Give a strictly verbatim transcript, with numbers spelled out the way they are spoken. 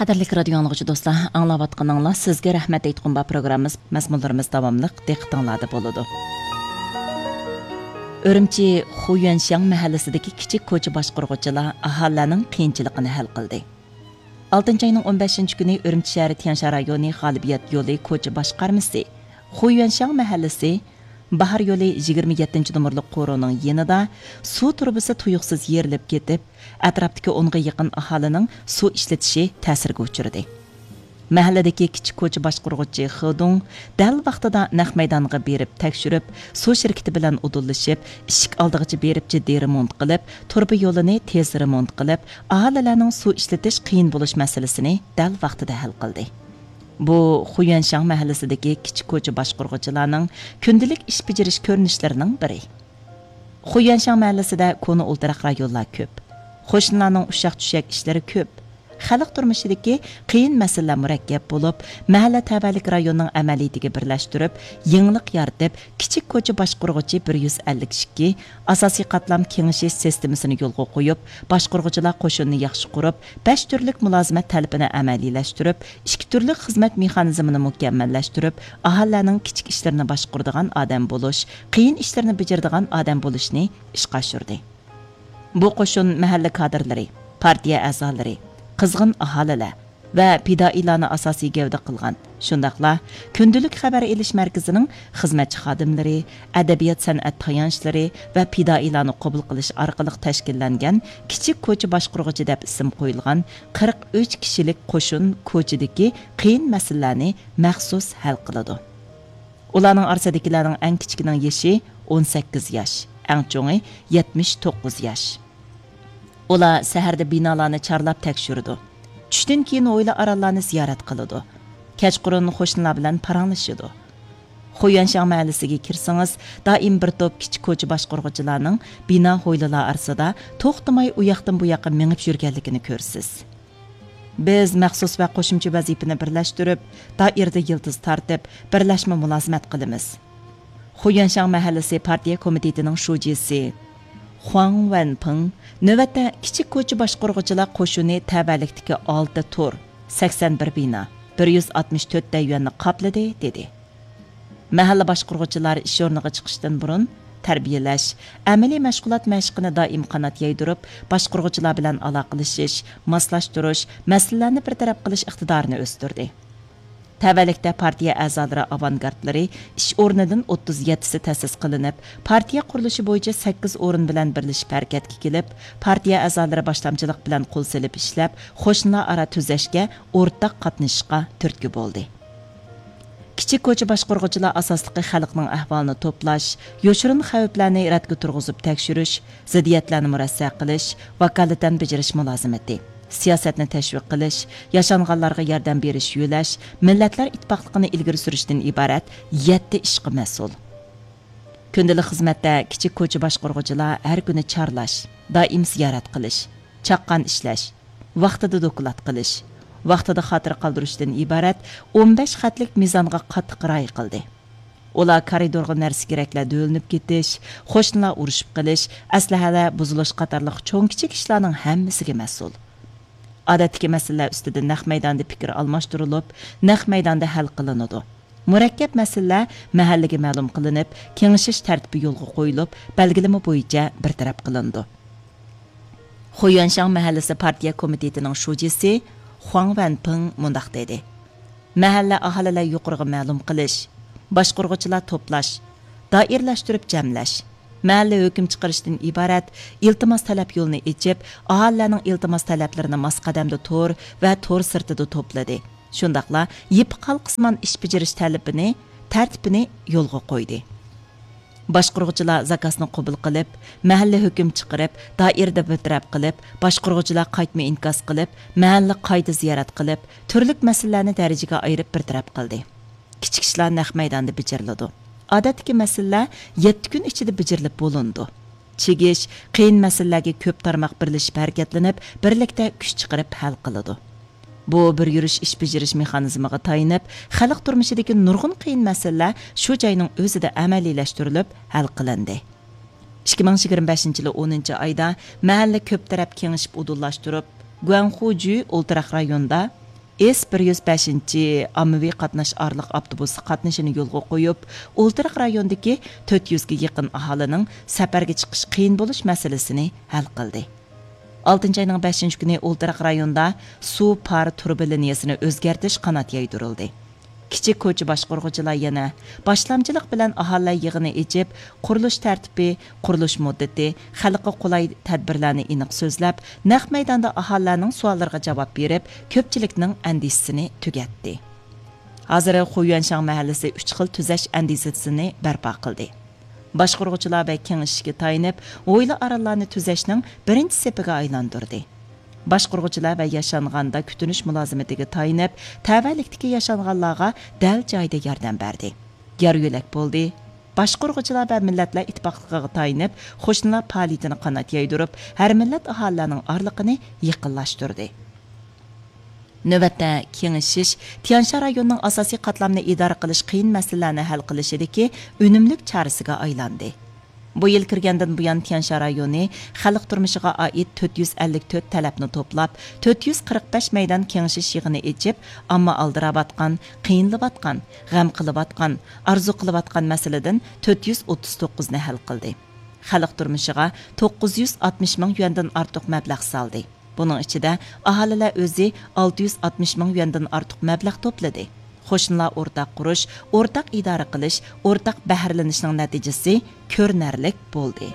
قەدىرلىك رادىيو ئاڭلىغۇچى دوستلار، ئاڭلاۋاتقىنىڭلار سىزگە رەھمەت ئېيتقۇم بار پروگراممىمىز، مەزمۇنلىرىمىز داۋاملىق دىققىتىڭلاردا بولىدۇ. ئۈرۈمچى خۇيۈەنشياڭ مەھەللىسىدىكى كىچىك كوچا باشقۇرغۇچىلار ئاھالىلەرنىڭ قىيىنچىلىقىنى ھەل قىلدى. ئالتىنچى ئاينىڭ ئون بەشىنچى كۈنى ئۈرۈمچى شەھىرى تيەنشان رايونى غالىبىيەت يولى كوچا باشقارمىسى خۇيۈەنشياڭ مەھەللىسى باھار يولى يىگىرمە يەتتىنچى نومۇرلۇق قورۇنىڭ يېنىدا سۇ تۇرۇبىسى تۇيۇقسىز يېرىلىپ كېتىپ، ئەتراپتىكى ئونغا يېقىن ئاھالىنىڭ سۇ ئىشلىتىشى تەسىرگە ئۇچرىدى. مەھەللىدىكى كىچىك كوچا باشقۇرغۇچى خېدۇڭ دەل ۋاقتىدا نەق مەيدانغا بېرىپ تەكشۈرۈپ، سۇ شىركىتى بىلەن ئۇدۇللىشىپ، ئىشىك ئالدىغىچە بېرىپ جىددىي رېمونت قىلىپ، تۇرۇبا يولىنى تېز رېمونت قىلىپ، ئاھالىلەرنىڭ سۇ ئىشلىتىش قىيىن بولۇش مەسىلىسىنى دەل ۋاقتىدا ھەل قىلدى. بۇ خۇيۈەنشاڭ مەھەللىسىدىكى كىچىك كوچا باشقۇرغۇچىلارنىڭ كۈندىلىك ئىش بېجىرىش كۆرۈنۈشلىرىنىڭ بىرى. خۇيۈەنشاڭ مەھەللىسىدە كونا ئولتۇراق رايونلار كۆپ. قوشنىلارنىڭ ئۇششاق-چۈششەك ئىشلىرى كۆپ. خەلق تۇرمۇشىدىكى قىيىن مەسىلىلەر مۇرەككەپ بولۇپ، مەھەللە تەۋەلىك رايوننىڭ ئەمەلىيىتىگە بىرلەشتۈرۈپ، يېڭىلىق يارىتىپ، كىچىك كوچا باشقۇرغۇچى بىر يۈز ئەللىك ئىككى، ئاساسىي قاتلام كېڭىشىش سىستېمىسىنى يولغا قويۇپ، باشقۇرغۇچىلار قوشۇنىنى ياخشى قۇرۇپ، بەش تۈرلۈك مۇلازىمەت تەلىپىنى ئەمەلىيلەشتۈرۈپ، ئىككى تۈرلۈك خىزمەت مېخانىزمىنى مۇكەممەللەشتۈرۈپ، ئاھالىلەرنىڭ كىچىك ئىشلىرىنى باشقۇرىدىغان ئادەم بولۇش، قىيىن ئىشلىرىنى بېجىرىدىغان ئادەم بولۇشنى ئىشقا ئاشۇردى. بۇ قوشۇن مەھەللە كادىرلىرى، پارتىيە ئەزالىرى، قىزغىن ئاھالىلەر ۋە پىدائىيلارنى ئاساسىي گەۋدە قىلغان، شۇنداقلا كۈندىلىك خەۋەر ئېلىش مەركىزىنىڭ خىزمەتچى خادىملىرى، ئەدەبىيات سەنئەت تايانچلىرى ۋە پىدائىيلارنى قوبۇل قىلىش ئارقىلىق تەشكىللەنگەن كىچىك كوچا باشقۇرغۇچى دەپ ئىسىم قويۇلغان قىرىق ئۈچ كىشىلىك قوشۇن كوچىدىكى قىيىن مەسىلىلەرنى مەخسۇس ھەل قىلىدۇ. ئۇلارنىڭ ئارىسىدىكىلەرنىڭ ئەڭ كىچىكىنىڭ يېشى ئون سەككىز ياش، ئەڭ چوڭى يەتمىش توققۇز ياش. ئۇلار سەھەردە بىنالارنى چارلاپ تەكشۈرىدۇ. چۈشتىن كېيىن ھويلا ئارانلارنى زىيارەت قىلىدۇ. كەچقۇرۇن قوشنىلار بىلەن پاراڭلىشىدۇ. خۇيۈەنشاڭ مەھەللىسىگە كىرسىڭىز، دائىم بىر توپ كىچىك كوچا باشقۇرغۇچىلارنىڭ بىنا ھويلىلار ئارىسىدا توختىماي ئۇ ياقتىن بۇ ياققا مېڭىپ يۈرگەنلىكىنى كۆرىسىز. بىز مەخسۇس ۋە قوشۇمچە ۋەزىپىنى بىرلەشتۈرۈپ، دائىرىدە يىلتىز تارتىپ، بىرلەشمە مۇلازىمەت قىلىمىز. خۇيۈەنشاڭ مەھەللىسى پارتىيە كومىتېتىنىڭ شۇجىسى خۇاڭ ۋەنپىڭ نۆۋەتتە كىچىك كوچا باشقۇرغۇچىلار قوشۇنى تەۋەلىكتىكى ئالتە تور، سەكسەن بىر بىنا، بىر يۈز ئاتمىش تۆت دەييۈەننى قاپلىدى، دېدى. مەھەللە باشقۇرغۇچىلار ئىش ئورنىغا چىقىشتىن بۇرۇن تەربىيەلەش، ئەمەلىي مەشغۇلات مەشقىنى دائىم قانات يايدۇرۇپ، باشقۇرغۇچىلار بىلەن ئالاقىلىشىش، ماسلاشتۇرۇش، مەسىلىلەرنى بىر تەرەپ قىلىش ئىقتىدارىنى ئۆستۈردى. تەۋەلىكتە پارتىيە ئەزالىرى ئاۋانگارتلىرى ئىش ئورنىدىن ئوتتۇز يەتتىسى تەسىس قىلىنىپ، پارتىيە قۇرۇلۇشى بويىچە سەككىز ئورۇن بىلەن بىرلىشىپ ھەرىكەتكە كېلىپ، پارتىيە ئەزالىرى باشلامچىلىق بىلەن قول سېلىپ ئىشلەپ، قوشنىلار ئارا تۈزەشكە ئورتاق قاتنىشىشقا تۈرتكە بولدى. كىچىك كوچا باشقۇرغۇچىلار ئاساسلىقى خەلقنىڭ ئەھۋالىنى توپلاش، يوشۇرۇن خەۋپلەرنى رەتكە تۇرغۇزۇپ تەكشۈرۈش، زىددىيەتلەرنى مۇرەسسە قىلىش، ۋاكالىتەن بېجىرىش مۇلازىمىتى، سىياسەتنى تەشۋىق قىلىش، ياشانغانلارغا ياردەم بېرىش، يۆلەش، مىللەتلەر ئىتتىپاقلىقىنى ئىلگىرى سۈرۈشتىن ئىبارەت يەتتە ئىشقا مەسئۇل. كۈندىلىك خىزمەتتە كىچىك كوچا باشقۇرغۇچىلار ھەر كۈنى چارلاش، دائىم زىيارەت قىلىش، چاققان ئىشلەش، ۋاقتىدا دوكلات قىلىش، ۋاقتىدا خاتىرە قالدۇرۇشتىن ئىبارەت ئون بەش خەتلىك مىزانغا قاتتىق رىئايە قىلدى. ئۇلار كارىدورغا نەرسە-كېرەكلەر دۆۋىلىنىپ كېتىش، قوشنىلار ئۇرۇشۇپ قېلىش، ئەسلىھەلەر بۇزۇلۇش قاتارلىق چوڭ-كىچىك ئىشلارنىڭ ھەممىسىگە مەسئۇل. ئادەتتىكى مەسىلىلەر ئۈستىدە نەق مەيداندا پىكىر ئالماشتۇرۇلۇپ، نەق مەيداندا ھەل قىلىنىدۇ. مۇرەككەپ مەسىلىلەر مەھەللىگە مەلۇم قىلىنىپ، كېڭىشىش تەرتىپى يولغا قويۇلۇپ، بەلگىلىمە بويىچە بىر تەرەپ قىلىنىدۇ. خۇيۈەنشاڭ مەھەللىسى پارتىيە كومىتېتىنىڭ شۇجىسى خۇاڭ ۋەنپىڭ مۇنداق دېدى: مەھەللە ئاھالىلەر يۇقىرىغا مەلۇم قىلىش، باشقۇرغۇچىلار توپلاش، دائىرىلەشتۈرۈپ جەملەش، مەھەللە ھۆكۈم چىقىرىشتىن ئىبارەت ئىلتىماس تەلەپ يولىنى ئېچىپ، ئاھالىلەرنىڭ ئىلتىماس تەلەپلىرىنى ماس قەدەمدە تور ۋە تور سىرتىدا توپلىدى. شۇنداقلا يىپ قالقىسىمان ئىش بېجىرىش تەلىپىنى، تەرتىپىنى يولغا قويدى. باشقۇرغۇچىلار زاكازنى قوبۇل قىلىپ، مەھەللە ھۆكۈم چىقىرىپ، دائىرىدە بىر تەرەپ قىلىپ، باشقۇرغۇچىلار قايتما ئىنكاس قىلىپ، مەھەللە قايتا زىيارەت قىلىپ، تۈرلۈك مەسىلىلەرنى دەرىجىگە ئايرىپ بىر تەرەپ قىلدى. كىچىك ئىشلار نەق مەيداندا بېجىرىلىدۇ. ئادەتتىكى مەسىلىلەر يەتتە كۈن ئىچىدە بېجىرىلىپ بولۇنىدۇ. چىگىش، قىيىن مەسىلىلەرگە كۆپ تارماق بىرلىشىپ ھەرىكەتلىنىپ، بىرلىكتە كۈچ چىقىرىپ ھەل قىلىدۇ. بۇ بىر يۈرۈش ئىش بېجىرىش مېخانىزمىغا تايىنىپ، خەلق تۇرمۇشىدىكى نۇرغۇن قىيىن مەسىلىلەر شۇ جاينىڭ ئۆزىدە ئەمەلىيلەشتۈرۈلۈپ ھەل قىلىندى. ئىككى مىڭ يىگىرمە بەشىنچى يىلى ئونىنچى ئايدا مەھەللە كۆپ تەرەپ كېڭىشىپ ئۇدۇللاشتۇرۇپ، گۇەنخۇجۈ ئولتۇراق رايونىدا ئېس بىر يۈز بەشىنچى ئاممىۋى قاتناش ئارىلىق ئاپتوبۇسى قاتنىشىنى يولغا قويۇپ، ئولتۇراق رايوندىكى تۆت يۈزگە يېقىن ئاھالىنىڭ سەپەرگە چىقىش قىيىن بولۇش مەسىلىسىنى ھەل قىلدى. ئالتىنچى ئاينىڭ بەشىنچى كۈنى ئولتۇراق رايوندا سۇ پار تۇرۇبا لىنىيەسىنى ئۆزگەرتىش قانات يايدۇرۇلدى. كىچىك كوچا باشقۇرغۇچىلار يەنە باشلامچىلىق بىلەن ئاھالىلەر يىغىنى ئېچىپ، قۇرۇلۇش تەرتىپى، قۇرۇلۇش مۇددىتى، خەلققە قولاي تەدبىرلەرنى ئېنىق سۆزلەپ، نەق مەيداندا ئاھالىلەرنىڭ سوئاللىرىغا جاۋاب بېرىپ، كۆپچىلىكنىڭ ئەندىشىسىنى تۈگەتتى. ھازىر خۇيۈەنشاڭ مەھەللىسى ئۈچ خىل تۈزەش ئەندىزىسىنى بەرپا قىلدى. باشقۇرغۇچىلار ۋە كېڭىشىشكە تايىنىپ، ھويلا ئارانلارنى تۈزەشنىڭ بىرىنچى سېپىگە ئايلاندۇردى. باشقۇرغۇچىلار ۋە ياشانغاندا كۈتۈنۈش مۇلازىمىتىگە تايىنىپ، تەۋەلىكتىكى ياشانغانلارغا دەل جايىدا ياردەم بەردى. يار يۆلەك بولدى. باشقۇرغۇچىلار ۋە مىللەتلەر ئىتتىپاقلىقىغا تايىنىپ، قوشنىلار پائالىيىتىنى قانات يايدۇرۇپ، ھەر مىللەت ئاھالىلەرنىڭ ئارىلىقىنى يېقىنلاشتۇردى. نۆۋەتتە، كېڭىشىش تيانشا رايونىنىڭ ئاساسىي قاتلامنى ئىدارە قىلىش قىيىن مەسىلىلەرنى ھەل قىلىشىدىكى ئۈنۈملۈك چارىسىگە ئايلاندى. بۇ يىل كىرگەندىن بۇيان، تيانشا رايونى خەلق تۇرمۇشىغا ئائىت تۆت يۈز ئەللىك تۆت تەلەپنى توپلاپ، تۆت يۈز قىرىق بەش مەيدان كېڭىشىش يىغىنى ئېچىپ، ئامما ئالدىراۋاتقان، قىينىلىۋاتقان، غەم قىلىۋاتقان، ئارزۇ قىلىۋاتقان مەسىلىدىن تۆت يۈز ئوتتۇز توققۇزنى ھەل قىلدى. خەلق تۇرمۇشىغا توققۇز يۈز ئاتمىش مىڭ يۈەندىن ئارتۇق مەبلەغ سالدى. بۇنىڭ ئىچىدە ئاھالىلەر ئۆزى ئالتە يۈز ئاتمىش مىڭ يۈەندىن ئارتۇق مەبلەغ توپلىدى. قوشنىلار ئورتاق قۇرۇش، ئورتاق ئىدارە قىلىش، ئورتاق بەھرىلىنىشنىڭ نەتىجىسى كۆرۈنەرلىك بولدى.